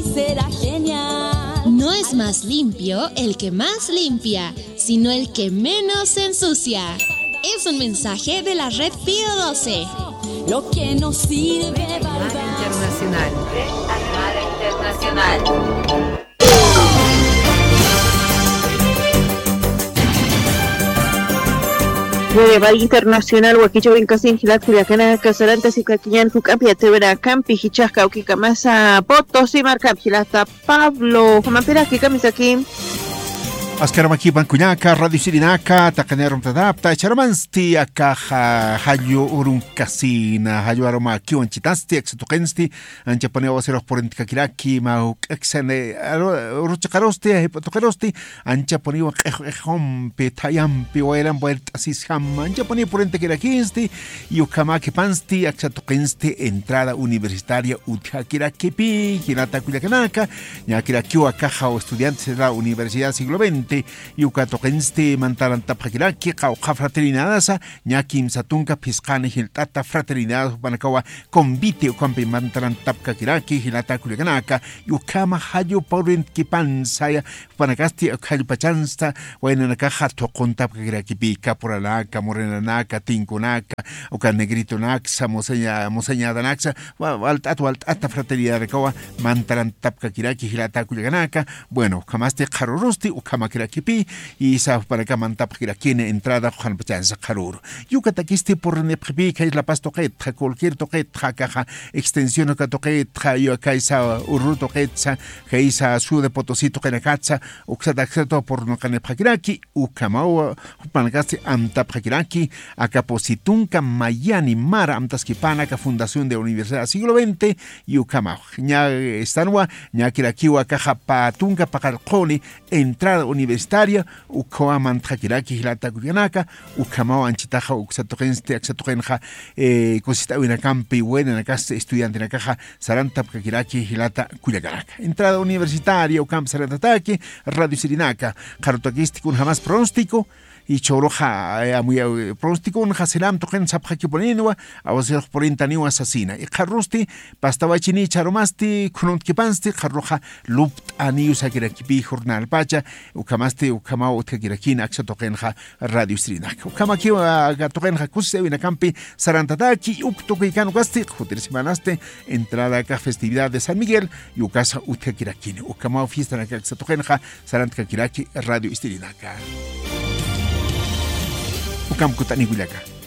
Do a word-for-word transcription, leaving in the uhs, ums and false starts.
Será genial. No es más limpio el que más limpia, sino el que menos se ensucia. Es un mensaje de la Red Pío doce. Lo que nos sirve para Internacional. Internacional. Red Internacional wakichawin kasin jilat kullakanaka, saranta sipkakiñan juk'ampi yatiyawinakampi jichhax kawkikamasa Potosí markampi jilata Pablo, jumampiraki kamisaki. Askaramakïpan kullaka, radio sirinaka, taqinirumtatapta, charamansti akaxa, jallu urun kasina, jallu arumakiw anchitasti, aksa tuqinsti, anchapuniw awasirux purintkakiraki, mä juk'aksani, aru-, uruchiqarusti, jayp'atuqirusti, anchapuniw q'ix q'ixumpi, thayampi, wayrampi, wayrt'asisjam, anchapuniw purintakirakïnsti, y ukhamäkipansti, aksa tuqinsti, entrada universitaria utjakirakipï, jilata kullakanaka, ñäkirakiw akaxa estudiantes de la Universidad Siglo veinte, y uka tuqinsti mantarantapxakiraki, qawqha fraternidadasa, ñä kimsa tunka phisqani jilt'ata fraternidad jupanakawa convite ukampi mantarantapkakiraki, jilata kullakanaka, y ukhama jallu purintakipansaya, jupanakasti uk jallpachansta, waynanakaxa thuquntapkakirakipï, caporalanaka, morenanaka, tinkunaka, uka negritonaksa, moseña-, moseñadanaksa, wa-, walt'at, walt'ata fraternidadanakawa mantarantapkakiraki, jilata kullakanaka, bueno, ukhamasti qharurusti, ukhamakirakipï, y sa jupanaka mantapkakirakini entrada qhanpachansa qharuru. Y ukatakisti purinipxipï, kay La Paz tuqitxa, cualquier tuqitxa, akaxa, extensión uka tuqitxa, y kaysa ururu tuqitsa, kaysa ciudad de Potosí tuqinakatsa, uksata, uksata purunqanipxakiraki, ukhamaw, jupanakasti amtapxakiraki, aka pusi tunka mayani mara amtaskipana aka Fundación de Universidad Siglo veinte, y ukhamaw. Ñä, estanwa, ñäkirakiw akaxa pä tunka paqallquni, entrada universitaria, ukhawa mantxakiraki jilata kullakanaka, ukhamaw anchitaxa uksa tuqinsti, aksa tuqinxa, eh, kusist'äwinakampi, waynanakasti estudiantenakaxa, sarantapkakiraki jilata kullakanaka. Entrada universitaria, ukampi sarantataki, radio sirinaka, qharutakisti kunjamas pronóstico, y chhuruxa, eh, amuya, eh, pronósticonxa sinam tuqin sapxakipuninwa, awasirux purintaniwa sasina. Y qharurusti, pastawachini chharumasti, khununtakipansti, qharuruxa lupt'aniw sakirakipï jornalpacha, ukhamasti, ukhamaw utjakirakini, aksa tuqinxa radio sirinaka. Ukhamakiw, ah, aka tuqinxa kusisawinakampi sarantataki, uk tukuy kan ukasti, jutir semanasti, entrada aka festividad de San Miguel, y ukasa utjakirakini. Ukhamaw fiesta naka aksa tuqinxa, sarantkakiraki radio istirinaka. Ukham kut'ani kullaka.